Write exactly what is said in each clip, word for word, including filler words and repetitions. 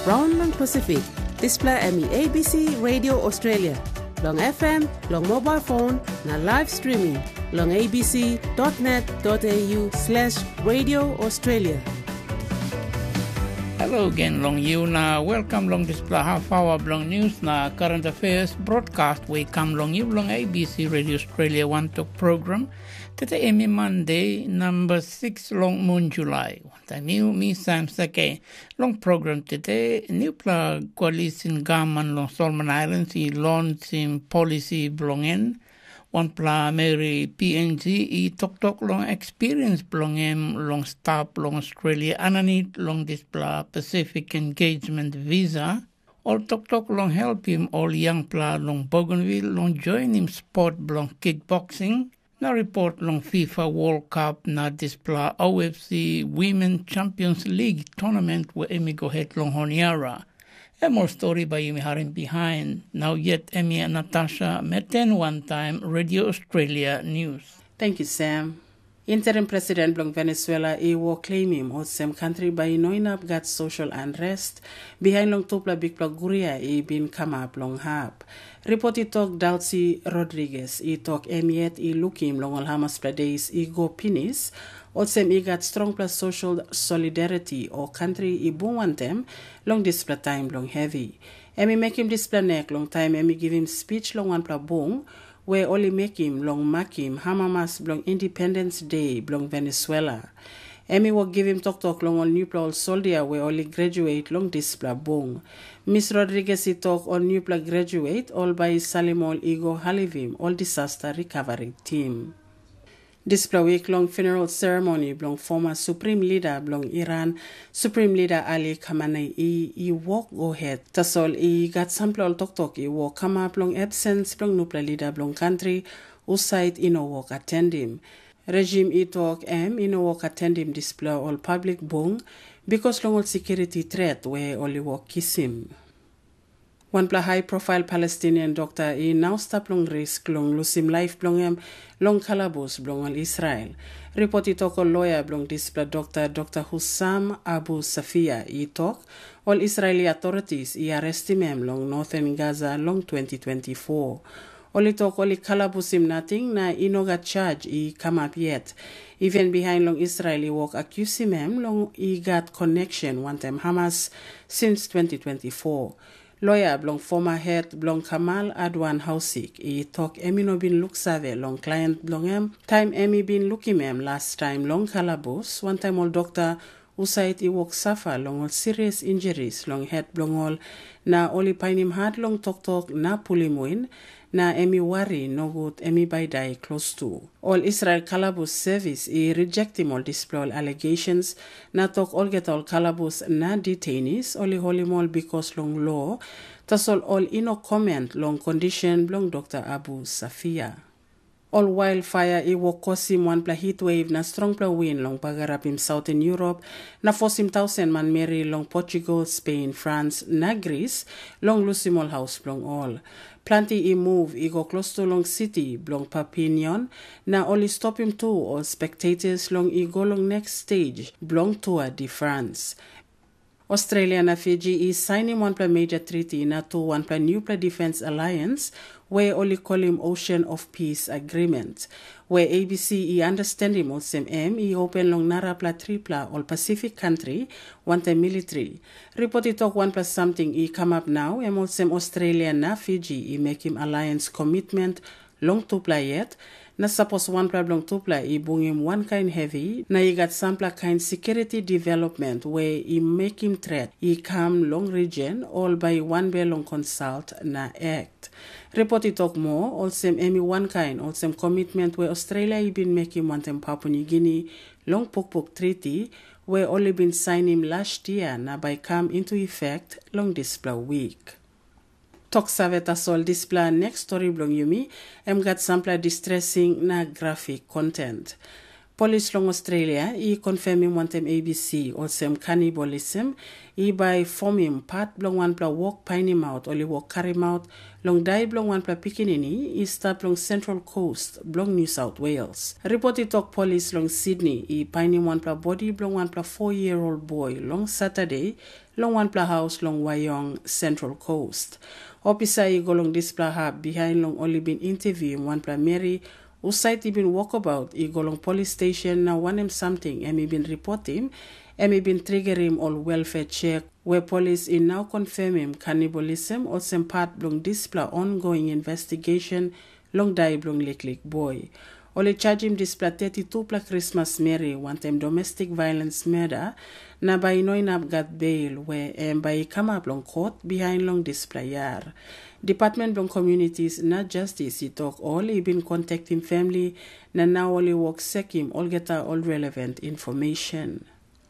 Raun long Pasifik. Dispela em i A B C Radio Australia. Long F M, long mobile phone, na live streaming long A B C dot net dot A U slash Radio Australia. Hello again long you na welcome long dispela half hour bilong news na current affairs broadcast we kam long you long A B C Radio Australia One Talk program. Today em i Monday, number six long moon July. Wantaim you, mi Sam Sake. Long program today, newpela koalisi gaman long Solomon Islands i lonsim polisi bilong en. Wanpela meri P N G i toktok long experience bilong em long stap long Australia aninit long dispela Pacific Engagement Visa. Ol toktok long helpim ol yangpela long Bougainville long joinim sport bilong kickboxing, na ripot long FIFA World Cup na dispela O F C Women Champions League tournament we em i go het long Honiara. Em ol stori bai yumi harim bihain. Nau yet em i Natasha Meten wantaim Radio Australia News. Thank you, Sam. Interim President bilong Venezuela i wok claimim olsem kantri bai i no inap gat social unrest bihain long tupela bikpela guria i bin kamap long hap. Ripot i tok Dalsi Rodriguez i tok em yet i lukim long ol hamaspela days i go pinis, olsem i gat strongpela social solidarity o kantri i bung wantem long dispela taim bilong hevi. Em i mekim dispela nek long taim em i givim spich long wanpela bung we ol i mekim long makim amamas bilong Independence De bilong Venezuela. Em i wok givim toktok long ol nupela ol soldia we ol i graduate long dispela bung. Miss Rodriguez i tok ol nupela graduate ol bai i salim ol i go halivim ol disaster recovery team. Dispela wik long funeral ceremony bilong former Supreme Leader bilong Iran, Supreme Leader Ali Khamenei i, i wok go het. Tasol i gat sampela ol toktok i wok kamap long absence bilong nupela leader bilong kantri, husat i no wok atendim. Regime i tok em i no wok atendim dispela ol public bung, bikas long ol security threat we ol i wok kisim. Wanpela high profile Palestinian dokta i nau stap long risk long lusim laip bilong em long kalabus bilong ol Israel. Ripot i tok ol loya bilong dispela dokta, Dr. Hussam Abu Safia, i tok ol Israeli authorities i arrestim em long Northern Gaza long twenty twenty-four. Ol i tok ol i kalabusim nating na i no gat charge i kamap yet. Even bihain long Israel i wok akusim em long i gat connection wantaim Hamas since twenty twenty-four. Loya bilong former het bilong Kamal Adwan Hausik i tok em i no bin luksave long klient bilong em taim em i bin lukim em lastaim long kalabus wantaim ol dokta husat i wok safa long ol serious injuries long het bilong ol, na ol i painim hat long toktok na pulim win, na em i wari nogut em i bai dai klostu. Ol Israel kalabus sevis i rejektim ol dispela ol allegations, na tok olgeta ol kalabus na detainees ol i holim ol bikos long lo, tasol ol i no comment long kondishen bilong Dr. Abu Safia. Ol wildfire i wok kosim wanpela heat wave na strongpela win long bagarapim Southern Europe, na fosim tausen manmeri long Portugal, Spain, France, na Greece long lusim ol haus bilong ol. Planti i move i go klostu long siti bilong Papinion, na ol i stopim tu ol spectators long i go long next stage bilong Tour de France. Australia na Fiji i sainim wanpela major treaty na tu wanpela newpela defense alliance, we ol i kolim Ocean of Peace Agreement, we A B C i understandim olsem em i open long narapela tripela ol Pacific country wantaim military. Ripot i tok wanpela samting i kamap nau, em olsem Australia na Fiji i mekim alliance commitment long tupela yet, na sapos wanpela bilong tupela i bungim wankain hevi na i gat sampela kain security development we i mekim threat i kam long region, ol bai wanbel long consult na act. Ripot i tok moa olsem em i wankain olsem commitment we Australia i bin mekim wantaim Papua New Guinea long pukpuk treaty we ol i bin sainim last year na bai kam into effect long dispela week. Tok save tasol dispela next story bilong yumi, em gat sampela distressing na graphic content. Polis long Australia i konfirmim wantaim A B C olsem kanibalism i bai fomim pat bilong wanpela wok painimaut ol i wok karimaut long dai bilong wanpela pikinini i stap long Central Coast bilong New South Wales. Ripot i tok polis long Sydney i painim wanpela bodi bilong wanpela four year old boy long Saturday long wanpela haus long Wyong, Central Coast. Opisa i go long dispela hap bihain long ol i bin interviewim wanpela meri husat i bin wokabaut i go long polis station na wanem samting em i bin ripotim, em i bin trigerim ol welfare chek, we polis i nau konfirmim kanibalism olsem pat bilong dispela ongoing investigation long dai bilong liklik boi. Ol i chajim dispela thirty-two-pela Krismas meri wantaim domestik violens murder, na bai i no inap gat beil we em bai i kamap long kot bihain long dispela yar. Department bilong Communities na Justice i tok ol i bin kontaktim famili, na nau ol i wok sekim olgeta ol relevant information.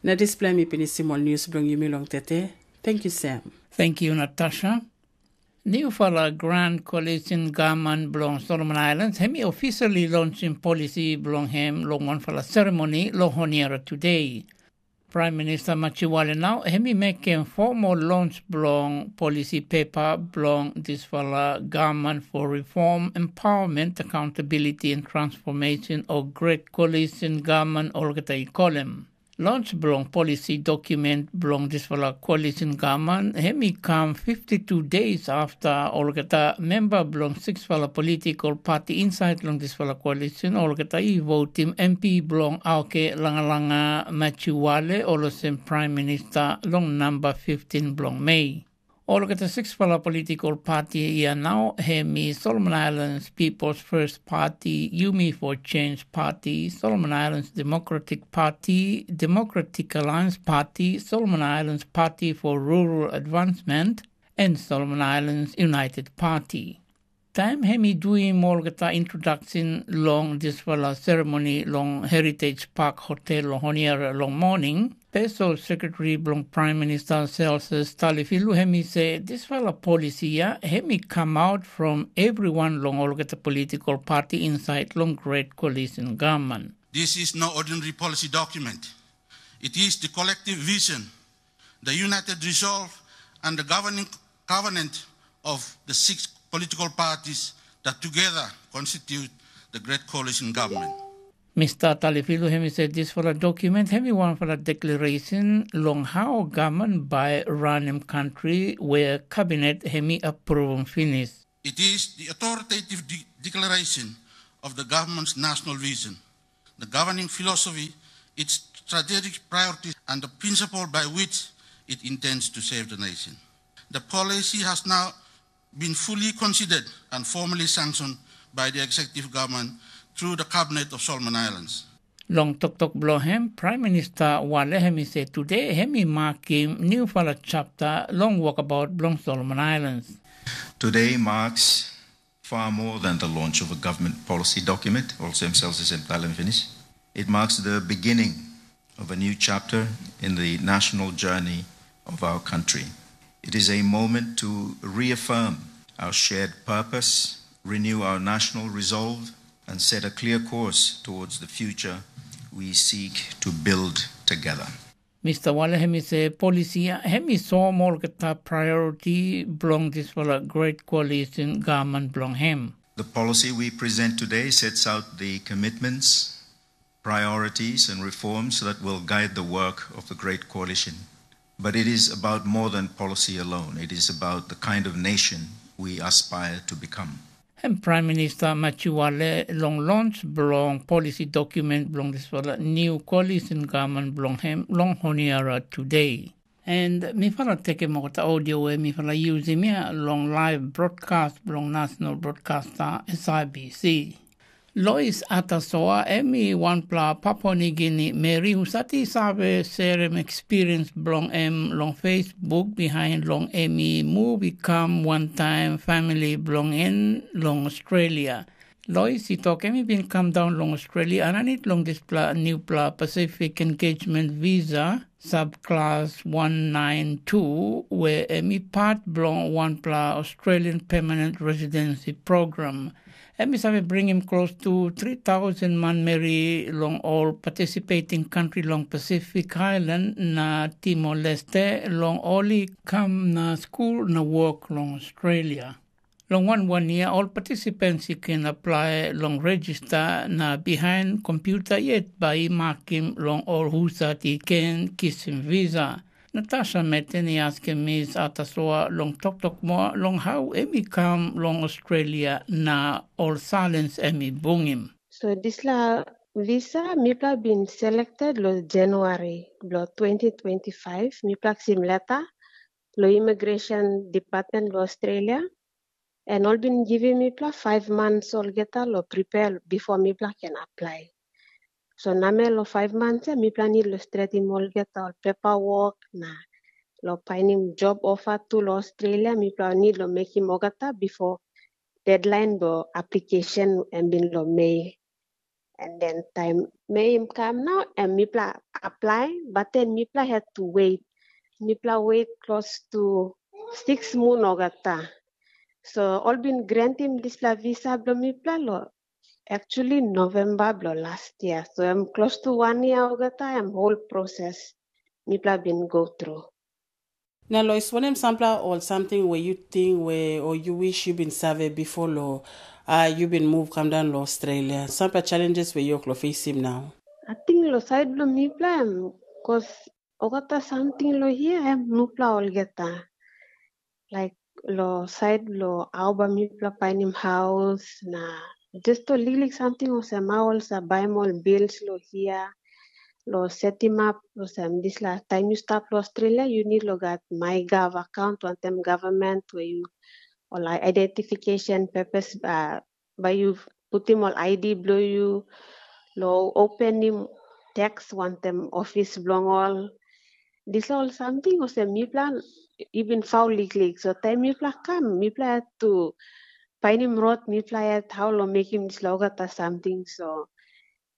Na dispela mi pinisim ol news bilong yumi long tete. Thank you, Sam. Thank you, Natasha. Newfala Grand Coalition Gavman bilong Solomon Islands, em i officially launchim polisi bilong em long wanpela seremoni long Honiara today. Prime Minister Machiwale nau em i mekim formal launch bilong polisi pepa bilong dispela Gavman for Reform, Empowerment, Accountability and Transformation o Great Coalition Gavman olgeta i kolim. Launch bilong polisi dokumen bilong dispela koalisin gavman em i kam fifty-two days afta olgeta memba bilong siksfala politikal pati insait long dispela koalisin olgeta i votim M P bilong Auke Langalanga Machiwale olsem praim minista long namba fiftin bilong Mei. Olgeta siksfala politikal pati ya nau em i Solomon Islands People's First Party, Yumi for Change Party, Solomon Islands Democratic Party, Democratic Alliance Party, Solomon Islands Party for Rural Advancement, en Solomon Islands United Party. Taim em i duim olgeta introdaksen long dispela seremoni long Heritage Park Hotel long Honiara long moning, Spesal Sekretari bilong Praim Minista Celsus Talifilu em i se dispela polisi ya em i kamaut from everyone long olgeta politikal pati insait long Great Coalition Gavman. This is no ordinary policy document. It is the collective vision, the united resolve, and the governing covenant of the six political parties that together constitute the Great Coalition Government. Mista Talifilu em i se dispela dokumen em i wanpela deklarasyon long hau gavman bai ranim kantri wea kabinet em i apruvam pinis. It is the authoritative de- declaration of the government's national vision, the governing philosophy, its strategic priorities, and the principle by which it intends to serve the nation. The policy has now been fully considered and formally sanctioned by the executive government through the cabinet of Solomon Islands. Long toktok bilong em, Praim Minista Wale em i se tude em i makim newpela chapter long wokabaut bilong Solomon Islands. Today marks far more than the launch of a government policy document, also himself is entitled and finished. It marks the beginning of a new chapter in the national journey of our country. It is a moment to reaffirm our shared purpose, renew our national resolve, and set a clear course towards the future we seek to build together. Mista Wale em i se polisi ya em i soim olgeta priority bilong dispela Great Coalition gavman bilong em. The policy we present today sets out the commitments, priorities, and reforms that will guide the work of the Great Coalition. But it is about more than policy alone. It is about the kind of nation we aspire to become. Em Praim Minista Machiwale long lons bilong polisi dokumen bilong dispela niu koalisin gavman bilong em long Honiara tude. And mifala tekim olgeta audio we mifala yusim ya long live broadcast bilong National Broadcaster S I B C. Lois Atasoa em i wanpela Papua Nigini meri husat i save serim ekspiriens bilong em long Facebook bihain long em i muv i kam wantaim famili bilong en long Australia. Lois i tok em i bin kam daun long Australia aninit long dispela nupela Pacific Engagement Visa, subclass one nine two, we em i pat bilong wanpela Australian Permanent Residency Program. Em i save bringim klostu tri tausen manmeri long ol partisipeting kantri long Pasifik Ailan na Timor-Leste long ol i kam na skul na wok long Australia. Long wan wan yia ol partisipants i ken aplai long rejista na bihain kompyuta yet bai i makim long ol husat i ken kisim visa. Natasha Meten i askim Miss Atasoa long toktok moa long hau em i kam long Australia na ol salens em i bungim. So dispela visa mipela bin selected long January bilong twenty twenty-five, mipela kisim leta long Immigration Department long Australia, and ol bin givim mipela five months olgeta long prepare before mipela can apply. So namel long five months ya mipela need long stretim olgeta ol paperwork na long painim job offer tu long Australia, mipela need long mekim olgeta before deadline bilong application em bin long Mei. And then taim Mei im kam nau, em mipela apply, but then mipela had to wait. Mipela wait close to six mun olgeta. So ol bin grantim dispela visa bilong mipela lo actually November bilong last year. So em close to one year olgeta, em whole process mipela bin go through. Na Lois, wanem sampela ol samting we yu ting we o yu wis yu bin save bipo lo a yu bin muv kam daun long Australia? Sampela challenges we yu oklo fesim nau? Ating lo sait bilong mipela em, kos olgeta samting lo hia em nupela olgeta. Laik lo sait lo au bai mipela painim haus na just ol liklik samting olsem au ol sa baim ol bils lo hia, lo setim ap olsem dispela taim yu stap lo Australia yu nid lo gat MyGov account wantaim government we yu ol identification papers uh, bai yu putim ol I D bilong yu lo openim teks wantaim ofis bilong ol. Dispela ol samting olsem mipela i bin fau liklik. So taim mipela kam, mipela yet tu painim rot mipela yet hau long mekim dispela olgeta samting. So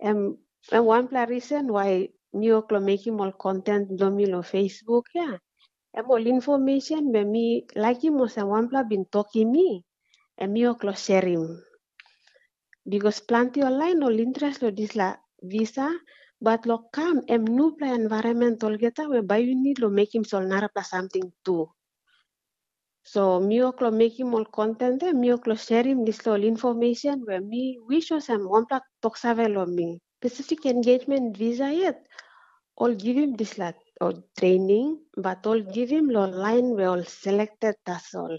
em em wanpela risen wai mi wok long mekim ol konten bilong mi long Facebook ya. Em ol infomesen be mi laikim olsem wanpela bin tokim mi, em mi wok long serim. Bikos planti ol lain ol interes long dispela visa, bat long kam em nupela envairament olgeta we bai yu nid long mekim ol narapela samting tu. So mi wok long mekim ol konten de, mi wok long serim dispela ol infomesen we mi wis olsem wanpela toksave long mi. Pacific engagement visa yet, ol givim dispela ol training, bat ol givim long lain we ol selected tasol.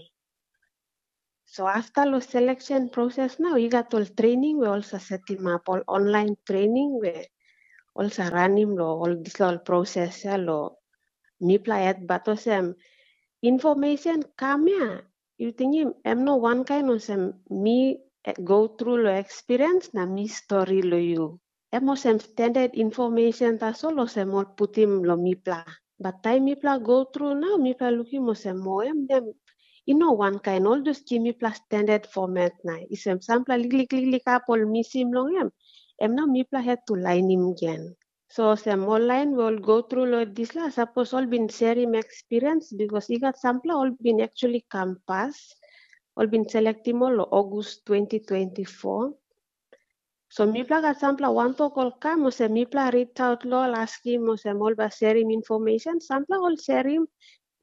So afta long selection proses nau i gat ol training we ol sa setim ap ol online training we ol sa ranim long ol dispela ol proses ya long mipela yet bat olsem information kam ya yu tingim em no wankain olsem mi go tru long experience na mi stori long yu. Em olsem standard information tasol olsem ol putim long mipela. Bat taim mipela go tru nau mipela lukim olsem o em nem i no wankain ol just gim mipela standard format na isem sampela liklik liklik hap ol misim long em, em nau mipela het tu lainim gen. So olsem ol lain we ol go tru long dispela sapos ol bin serim ekspiriens bikos i gat sampela ol bin actually kam pas, ol bin selektim ol long August twenty twenty-four. So mipela gat sampela wantok ol kam olsem mipela ritaut lo ol askim olsem ol bai serim information, sampela ol serim,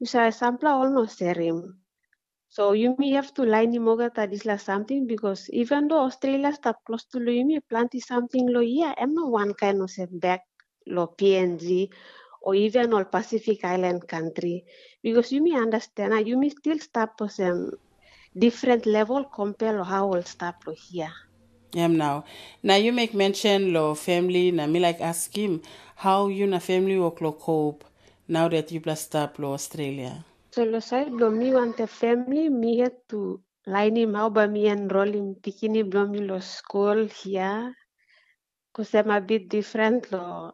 yu save sampela ol no serim. So yumi have to lainim olgeta dispela samting bikos even though Australia stap klostu long yumi, planti samting long hia em no wankain olsem bek long P N G o even ol Pacific Island country. Bikos yumi understand na yumi stil stap olsem different level compare long how ol stap long hia. Em nau. Na yu mek mention long family na mi laik askim, how yu na family wok long cope now that yupela stap long Australia? So long sait bilong mi wantaim family mi het tu lainim hau bai mi enrolim pikinini bilong mi long skul hia. Olsem a bit different long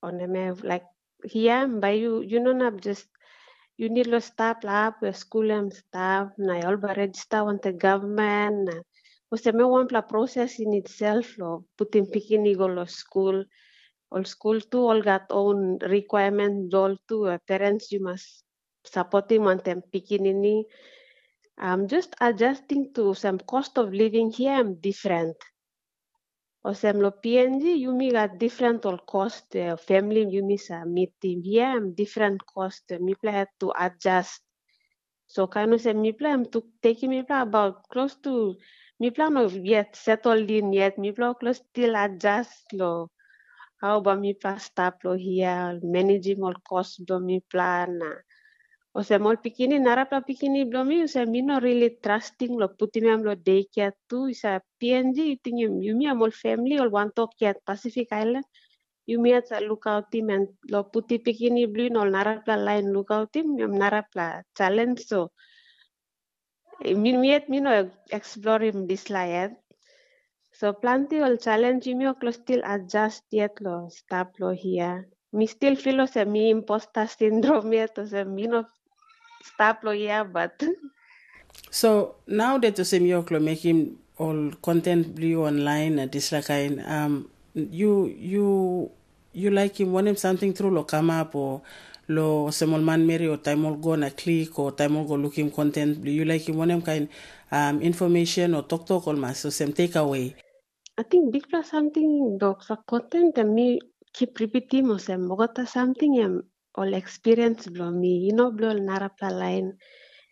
wanem laik hia bai yu yu no inap just yu nid long stap long hap we skul em stap na ol bai rejista wantaim gavman na olsem em wanpela proses in itself long putim pikinini i go long skul. Ol skul tu ol gat own requirement bilong ol tu we parents yu mas sapotim wantaim pikinini. I'm just adjusting to some cost of living here em different. Olsem lo P N G yumi gat different ol cost, eh, family yumi sa meeting here em different cost, eh, mipela had to adjust. So kain olsem mipela em tu tekim mipela about close to mipela no yet settle in yet, mipela close still adjust lo how ba mipela stap lo hia, managing ol cost bilong mipela na olsem ol pikinini, narapela pikinini bilong mi, olsem mi no really trusting lo putim em lo daycare tu, isa P N G, yu tingim yumi em ol family ol wantok yet Pacific Island, yumi yet sa lukautim em lo puti pikinini bilong ol narapela lain lukautim em narapela challenge. So mi yet mi no eksplorim dispela yet. So planti ol challenge yumi oklo still adjust yet lo stap lo hia. Mi still feel olsem mi imposter syndrome yet olsem mi no stap lo hia but So nau det olsem yu oklo mekim ol content bilong yu online na dispela kain, um, yu yu yu laikim wanem samting tru lo kamap o lo olsem ol manmeri o taim ol go na klik o taim ol go lukim content bilong yu laikim wanem kain, um, information o toktok ol mas olsem take away? Ating bikpela samting dok sa content em mi kip ripitim olsem olgeta samting em ol experience bilong mi, you know, bilong ol narapela lain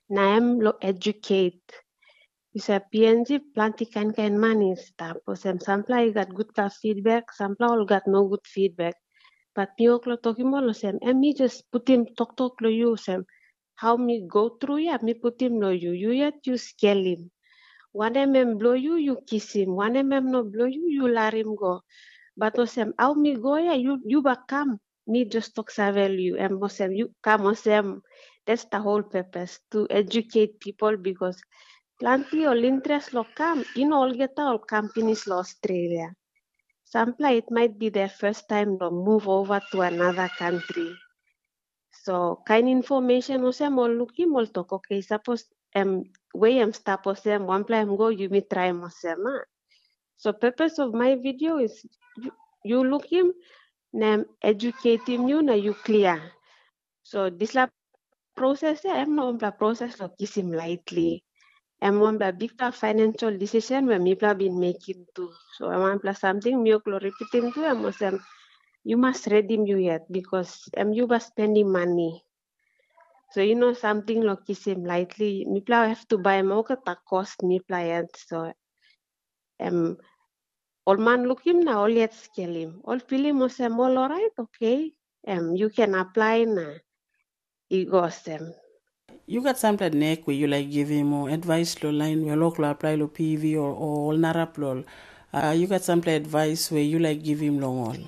na em lo educate. Bisa P N G planti kain kain man i stap, olsem sampela i gat gutpela feedback, sampela ol gat nogut feedback. But mi wok lo tokim ol olsem, em mi just putim toktok lo yu olsem, how mi go tru ya mi putim lo yu, yu yet yu skelim. Wanem em blo yu, yu kisim. Wanem em no blo yu, yu larim go. But olsem, how mi go ya, yu, yu ba kam, mi just tok save lo yu. Em olsem, yu kam olsem, that's the whole purpose, to educate people because planti ol interest lo kam, i no olgeta ol kam pinis lo Australia. Sampela it might be their first time lo move over to another country. So kain information olsem ol lukim ol tok, okay, sapos em we em stap olsem, wanpela em go, yumi traim olsem, a? So purpose of my video is yu, yu lukim na em educatim yu na yu klia. So dispela proses ya em no wanpela proses lo kisim lightly. Em wanpela bikpela financial decision we mipela bin mekim tu. So em wanpela samting mi wok lo ripitim tu em olsem, yu mas redim yu yet, because em yu ba spendim mani. So yu no samting lo kisim lightly, mipela have to baim olgeta cost mipela yet. So em ol man lukim na ol yet skelim, ol pilim olsem ol orait, okay, em yu ken aplai na i go olsem. Yu gat sampela nek we yu laik givim o advais lo lain we lok lo aplai lo P V o, o ol narap lo ol? Uh, yu gat sampela advais we yu laik givim long ol?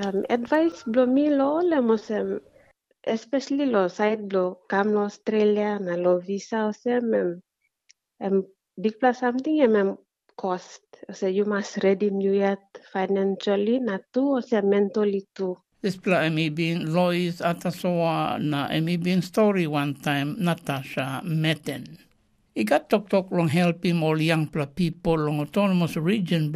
Um, advais bilong mi lo ol em olsem, especially lo sait bilong kam lo Australia na lo visa olsem, em, em bikpela samting em, em cost. Olsem yu mas redim yu yet financially na tu olsem mentally tu. Dispela em i bin Lois Atasoa na em i bin stori wantaim Natasha Meten. I gat toktok long helpim ol yangpela pipel long autonomous region